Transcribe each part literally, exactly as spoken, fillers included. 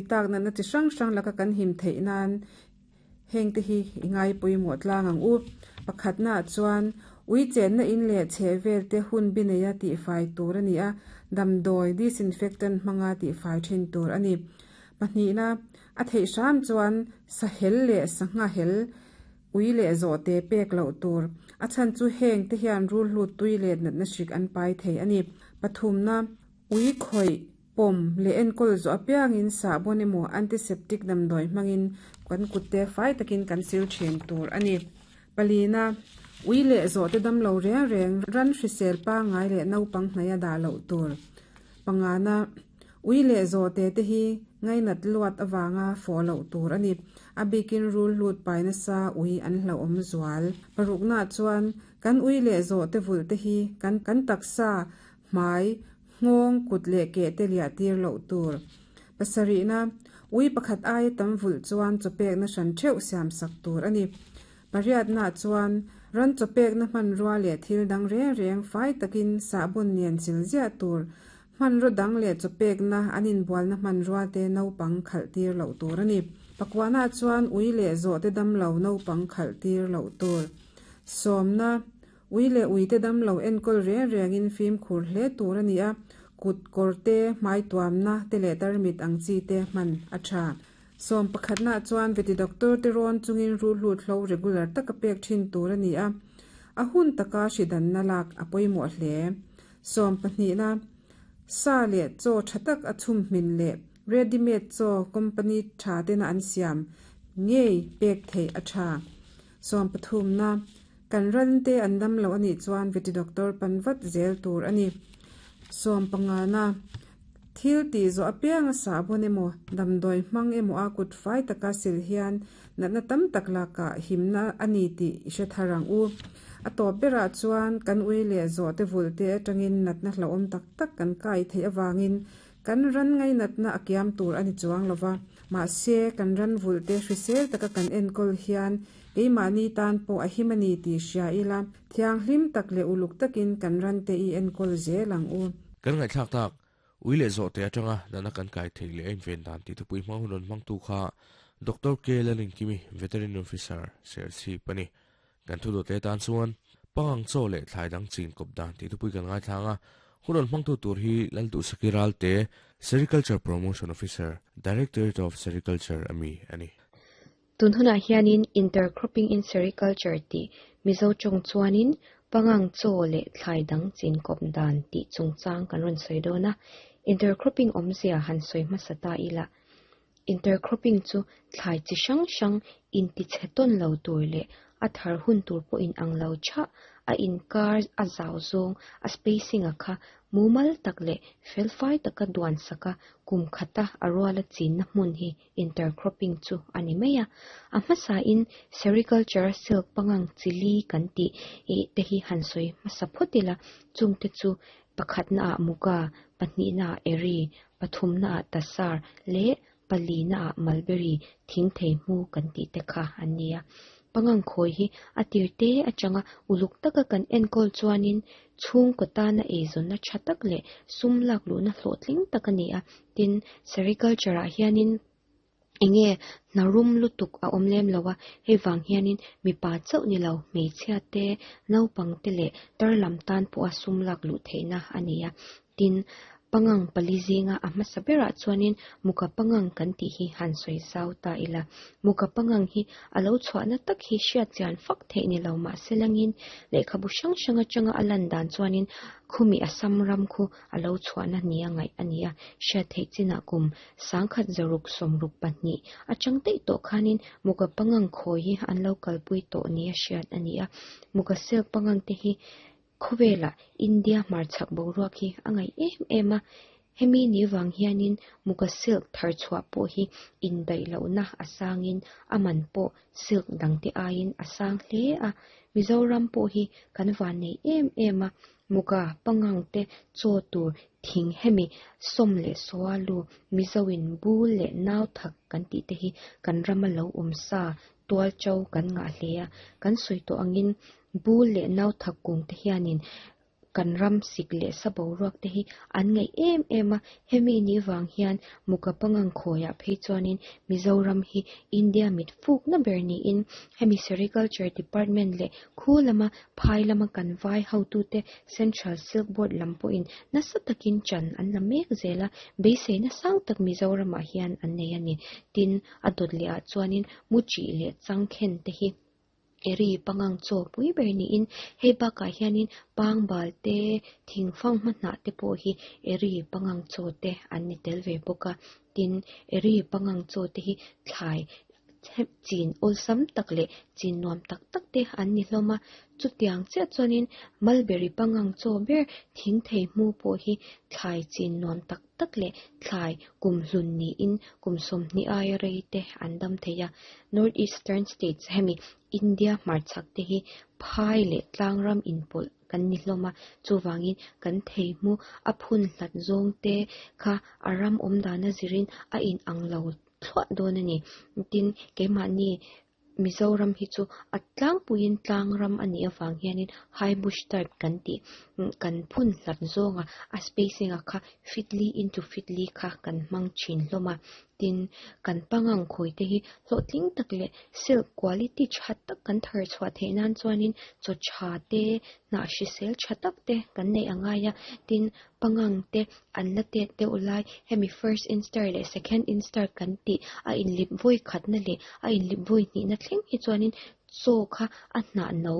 Tak natna chi hrang hrang laka kan him theih nan heng te hi i ngai pawimawh tlang ang u. Pakhatna chuan ui chenna in leh chhehvel te hun bi neia tihfai tur a ni a, damdawi disinfectant hmanga tihfai thin tur a ni. Pahnihna a theih hram chuan sahel leh sangha hel ui leh zawh te pek loh tur a chhan chu heng te hian rul hlut tui leh natna hrik an pai thei a ni. Pathumna ui khawih pawm leh enkawl zawh apiangin sahbawn emaw antiseptic damdawi hmangin kan kut te fai takin kan sil thin tur a ni. Palina ui leh zawh te damlo reng reng ran hrisel pangngai leh naupang hnaih a dah loh tur. Pangana ui leh zawh te te hi ngainat luat awanga fawh loh tur a ni. A bikin rul hlut pai nasa ui an hlauhawm zual. Parukna chuan kan ui leh zawh te vulh te hi kan kan taksa hmai nghawng kut leh ke te liah tir loh tur. Pasarihna ui pakhat aia tam vulh chuan chawpekna hran theuh siam sak tur a ni. Pariatna chuan ran chawpekna hmanrua leh thil dang reng reng fai takin sahbawn nen sil ziah tur. Hmanraw dang leh chawpekna an inbualna hmanrua te naupang khalh tir loh tur a ni. Pakwana chuan ui leh zawh te damlo naupang khalh tir loh tur. Sawmna ui leh ui te damlo enkawl reng rengin fimkhur hle tur a ni a, kut kawr te hmai tuamna te leh tarmit ang chi te hman a tha. Sawm pakhatna chuan veti doctor te rawn chungin rul hlut hlo regular taka pek thin tur a ni a, a hun taka hridanna lak a pawimawh hle. Sawm pahnihna sa leh chaw tha tak a chhum hmin leh ready made chaw company tha tena an siam ngei pek theih a tha. Sawm pathumna kan ran te an damlo anih chuan veti doctor pan vat zel tur a ni. Sawm pangana thil tih zawh apianga sahbawn emaw damdawi hmang emaw a kut fai taka sil hian natna tam tak lakah himna a ni tih i hre thar ang u. A tawp berah chuan kan ui leh zawh te vulh te atangin natna hlauhawm tak tak kan kai theih awangin kan ran ngai natna a kiam tur a ni chuang lova. Mahse kan ran vulh te hrisel taka kan enkawl hian keimahni tan pawh a him a ni tih hria ila thianghlim tak leh uluk takin kan ran te i enkawl zel ang u. Kan ngaihthlak tak ui leh zawh te atanga natna kan kai thei leh a inven dan tih thupui hmang hun rawn hmang tu kha Doctor K Lalinkimi Veterinary Officer Serchhip a ni. Kan thu dawt leh tan chuan pangang chaw leh thlai dang chin kawp dan tih thupui kan ngaithlang a, hun rawn hmang tu tur hi Lalduhsaki Ralte Sericulture Promotion Officer Directorate of Sericulture ami a ni. Tun hunah hianin intercropping in sericulture tih Mizo tawng chuanin pangang chaw leh thlai dang chin kawp dan tih chungchang kan rawn sawi dawn a. Intercropping awmzia han sawi hmasa ta ila. Intercropping chu thlai chi hrang hrang inti chhe tawn lo tur leh a thar hun tur pawh in ang lo tha a inkar a zau zawng a spacing a kha mumal tak leh felfai taka duan saka kum khata a ruala chinna hmun hi intercropping chu a ni mai a. A hmasa in sericulture silk pangang chili kan tih e te hi han sawi hmasa phawt ila chung te chu pakhatna ah muga, pahnihna ah eri, pathumna ah tasar leh palina ah mulberry thing thei hmu kan tih te kha an ni a. Pangang khawi hi a tir te atanga uluk taka kan enkawl chuanin chhung kaw tana eizawnna tha tak leh sum lak luhna hlawhtling tak a ni a. Tin, sericulture ah hianin enge hnarum lutuk a awm lem lo a, hei vang hianin mipa chauh ni lo hmeichhia te naupang te leh tar lam tan pawh a sum lak luh theihna a ni a. Tin, pangang pali zinga a hmasa berah chuanin muka pangang kan tih hi han sawi zau ta ila. Muka pangang hi a lo chhuahna tak hi hriat chian fak theih ni lo mahse langin lehkhabu hrang hrang atanga a lan dan chuanin khumi Assam ram khu a lo chhuahna ni a ngaih a ni a. Hriat theih chinah kum sangkhat zaruk sawmruk pahnih atang daih tawh khanin muka pangang khawi hi an lo kalpui tawh ni a hriat a ni a. Muka silk pangang te hi khawvela India hmarchhak boruak hi a ngaih em em a. Hemi ni wang hianin muka silk thar chhuah pawh hi indaih lohna a sangin a man pawh silk dang te aiin a sang hle a. Mizoram pawh hi kan van nei em em a. Muka pangang te chaw tur thing hemi sawm leh sualu Mizoin bul leh nau thak kan tih te hi kan rama lo awm sa tual chau kan ngah hle a. Kan sawi tawh angin bul leh nau thak kung te hianin Kan ram sik leh sa boruak te hi an ngaih em em a, hemi ni wang hian muka pangang khoya phei chuanin Mizoram hi India mit fuk na ber ni in hemi Sericulture Department leh khu lama phai lama kan vai hotu te Central Silk Board lam pawhin nasa takin chan an la mek zela beisei na sang tak Mizoram ah hian an nei ani. Tin a dawt leh ah chuanin muchi leh changkhen te hi eri pangang chaw pui ber niin hei bakah hianin pangbal te thingfang hma te pawh hi eri pangang chaw te an ni tel ve bawk a. Tin eri pangang chaw te hi thlai chin awlsam tak leh chin nuam tak tak te an ni hlawm a. Chutiang chiah chuanin mulberry pangang chaw ber thing thei hmu pawh hi thlai chin nuam tak tak leh thlai kum hlun niin kum sawmhnih aia rei te an dam thei a. North Eastern States hemi India hmarchhak te hi phai leh tlangram inpawlh kan ni hlawm a, chuwangin kan thei hmu a phun hlat zawng te kha a ram awm dana zirin a in ang lo thluah dawn ani. Tin keimahni Mizoram hi chu a tlangpuiin tlangram ani awang hianin high bush type kan tih kan phun hlat zawnga a spacing a kha fitli into fitli kha kan hmang thin hlawm a. Tin kan pangang khawi te hi hlawhtling tak leh silk quality tha tak kan thar chhuah theih nan chuanin chaw tha te hnah hrisel tha tak te kan nei angai a. Tin pangang te an la tet deuh lai hemi first instar leh second instar kan tih a inlip vawi khatna leh a inlip vawi hnihna thleng hi chuanin chaw kha a hnah no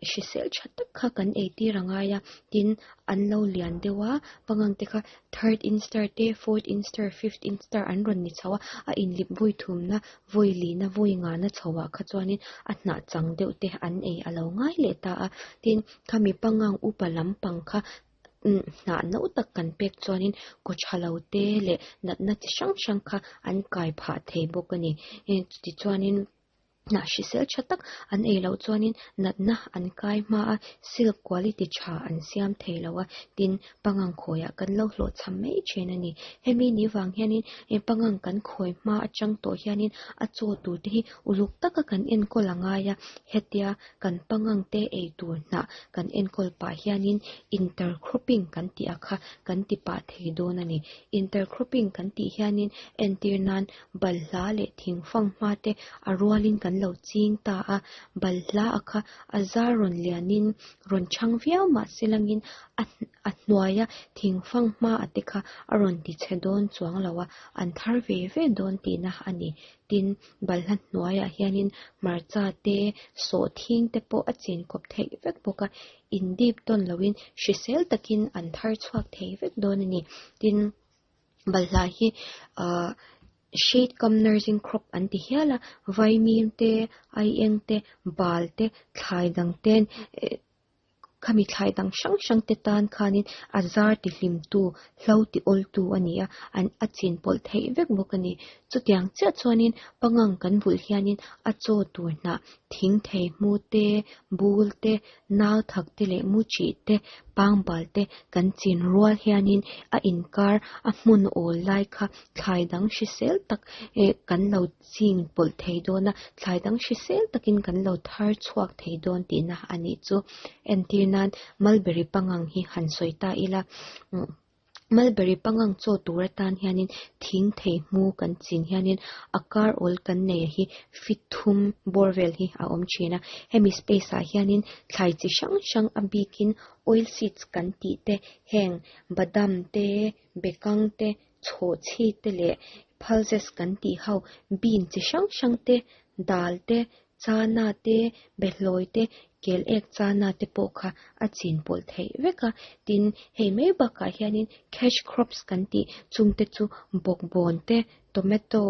hrisel tha tak kha kan ei tir angai a. Tin an lo lian deuh a, pangang te kha third instar te fourth instar fifth instar an rawn ni chho a, a inlip vawi thumna vawi lina vawi nga na chhoah kha chuanin a hnah chang deuh te an ei a lo ngai leh ta a. Tin khami pangang upa lampang kha hnah no tak kan pek chuanin kaw tha lo te leh natna chi hrang hrang kha an kai phah thei bawk ani. Tichuanin hnah hrisel tha tak an ei loh chuanin natna an kai hma a, silk quality tha an siam thei lo a. Tin pangang khawiah kan lo hlawh cham mai thin ani. Hemi ni wang hianin pangang kan khawi hma atang tawh hianin a chaw tur te hi uluk taka kan enkawl angai a. Hetia kan pangang te ei tur hnah kan enkawl pah hianin intercropping kan tih a kha kan ti pah thei dawn ani. Intercropping kan tih hianin entir nan balhla leh thingfang hma te a rualin kan lo ching ta a, balhla a kha a zar rawn lianin rawn chang viau mahse langin a a hnuaia thingfang hma a te kha a rawn ti che dawn chuang lo a, an thar ve ve dawn tihna ani. Tin balhla hnuaiah hianin hmarcha te sawhthing te pawh a chin kawp theih vek bawk a, in dip tawn loin hrisel takin an thar chhuak thei vek dawn ani. Tin balhla hi ahh shade cum nursing crop an ti hial a, vaimim te aieng te bal te thlai dang ten khami thlai dang hrang hrang te tan khanin a zar ti hlim tu hlo ti awl tu ani a, an a chin pawlh theih vek bawk ani. Chutiang chiah chuanin pangang kan vulh hianin a chaw tur hnah thing thei hmu te bul te nau thak te leh muchi te pangbal te kan chin rual hianin a inkar a hmun awl lai kha thlai dang hrisel tak eh kan lo ching pawlh thei dawn a, thlai dang hrisel takin kan lo thar chhuak thei dawn tihna ani chu. Entir nan mulberry pangang hi han sawi ta ila, mulberry pangang chaw tur atan hianin thing thei hmu kan chin hianin a kar awl kan nei hi fit thum bawr vel hi a awm thin a. Hemi space ah hianin thlai chi hrang hrang a bikin oil seeds kan tih te heng badam te bekang te chhawhchhi te leh pulses kan tih ho bean chi hrang hrang te dal te chana te behlawi te kel ek chana te pawh kha a chin pawlh theih vek a. Tin hei mai bakah hianin cash crops kan tih chungte chu bawkbawn te tomato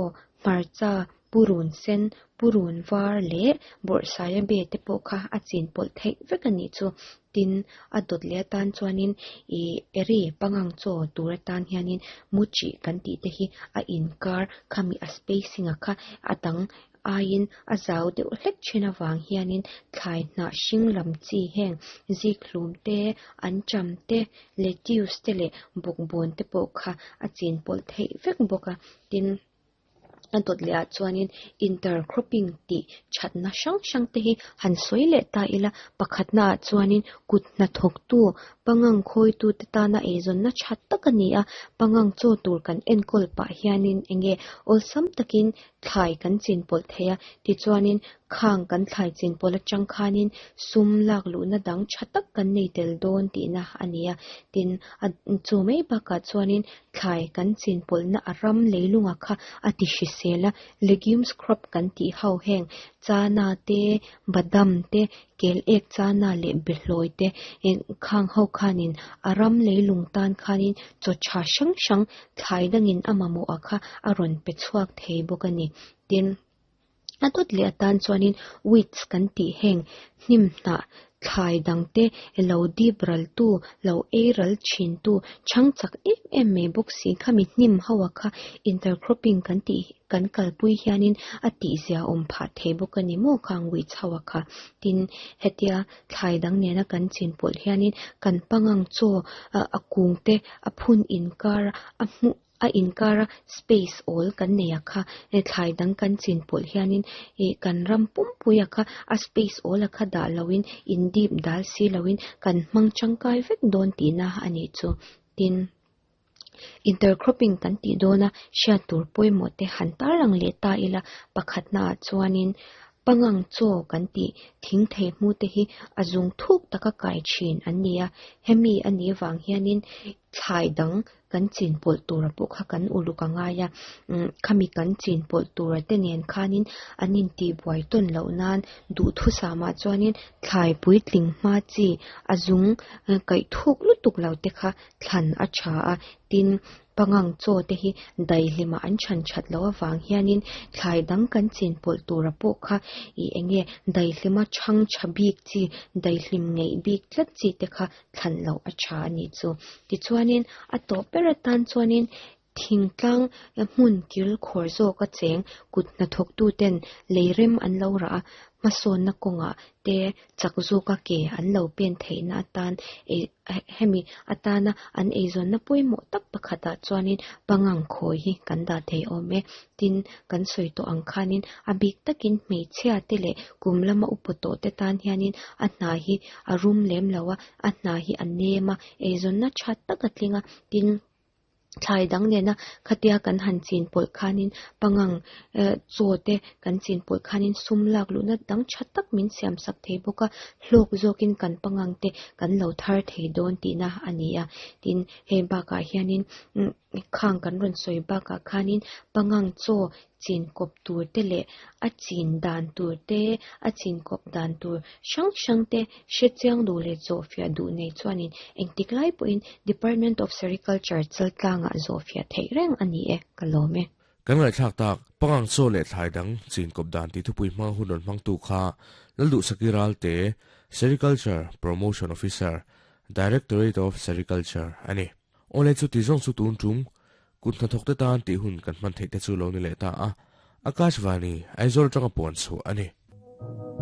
hmarcha purun sen purun var leh bawrhsaia be te pawh kha a chin pawlh theih vek ani chu. Tin a dawt leh atan chuanin ih eri pangang chaw tur atan hianin muchi kan tih te hi a inkar khami a spacing a kha a dang aiin a zau deuh hlek thin awang hianin thlai hnah hring lam chi heng zikhlum te ancham te lettuce te leh bawkbawn te pawh kha a chin pawlh theih vek bawk a. Tin A dawt leh ah chuanin intercropping tih thatna hrang hrang te hi han sawi leh ta ila pakhatna ah chuanin kut hnathawktu pangang khawitu te tana eizawnna tha tak a ni a pangang chaw tur kan enkawl pah hianin enge awlsam takin thlai kan chin pawlh thei a tichuanin khang kan thlai chin pawlh atang khanin sum lak luhna dang tha tak kan nei tel dawn tihna a ni a tin a chu mai bakah chuanin thlai kan chin pawlhna a ram leilunga kha a ti hrisel a legumes crop kan tih ho heng chana te badam te kel ek chana leh behlawi te khang ho khanin a ram leilung tan khanin chaw tha hrang hrang thlai dangin a mamawh a kha a rawn pe chhuak thei bawk a ni tin a dawt leh atan chuanin weeds kan tih heng hnim hnah thlai dang te lo dip ral tu lo ei ral thin tu chhang chak em em mai bawk si khami hnim ho a kha intercropping kan tih kan kalpui hianin a tih zia awm phah thei bawk a ni maw khang weeds ho a kha tin hetia thlai dang nena kan chin pawlh hianin kan pangang chaw a kung te a phun inkar a hmuh a inkara space awl kan nei a kha thlai dang kan chin pawlh hianin ih kan ram pumpui a kha a space awl a kha dah loin in dip dal si loin kan hmang tangkai vek dawn tihna a nih chu tin intercropping kan tih dawna hriat tur pawimawh te han tarlang leh ta ila pakhatna ah chuanin pangang chaw kan tih thing thei hmu te hi a zung thuk taka kai thin an ni a hemi a nih avang hianin thlai dang kan chin pawlh tura pawh kha kan uluk a ngai a khami kan chin pawlh tura te nen khanin an intih buai tawn loh nan duhthusam ah chuanin thlai puitling hma chi a zung kaih thuk lutuk lo te kha thlan a tha a tin pangang chaw te hi daihlima an than that loh avang hianin thlai dang kan chin pawlh tura pawh kha ih enge daihlima thang tha bik chi daihlim ngeih bik tlat chi te kha thlan loh a tha a nih chu tichuanin a tawp ber atan chuanin thingtlang hmun kil khawr zawk a cheng kut hnathawktu ten leirem an lo rah a hmasawnna kawngah te chak zawka ke an lo pen theihna atan hemi atana an eizawnna pawimawh tak pakhatah chuanin pangang khawi hi kan dah thei awm e tin kan sawi tawh ang khanin a bik takin hmeichhia te leh kum lama upa tawh te tan hianin a hna hi a rum lem lo a a hna hi a nem a eizawnna tha tak a tling a tin thlai dang nena khatia kan han chin pawlh khanin pangang chaw te kan chin pawlh khanin sum lak luhna dang tha tak min siam sak thei bawk a hlawk zawkin kan pangang te kan lo thar thei dawn tihna a ni a tin hei bakah hianin khang kan rawn sawi bakah khanin pangang chaw chin kawp tur te leh a chin dan tur te a chin kawp dan tur hrang hrang te hre chiang duh leh zawhfiah duh nei chuanin engtik lai pawhin Department of Sericulture chaltlangah zawhfiah theih reng a ni e ka lawm e kan ngaihthlak tak pangang chaw leh thlai dang chin kawp dan ti thupui hmang hun rawn hmang tu kha lalduh sakiral te Sericulture Promotion Officer Directorate of Sericulture ani ole chu ti zawng chu tun tum kut hnathawk te tan tih hun kan hman theih te chu lo ni leh ta a Akashvani Aizawl tanga puan chu ani.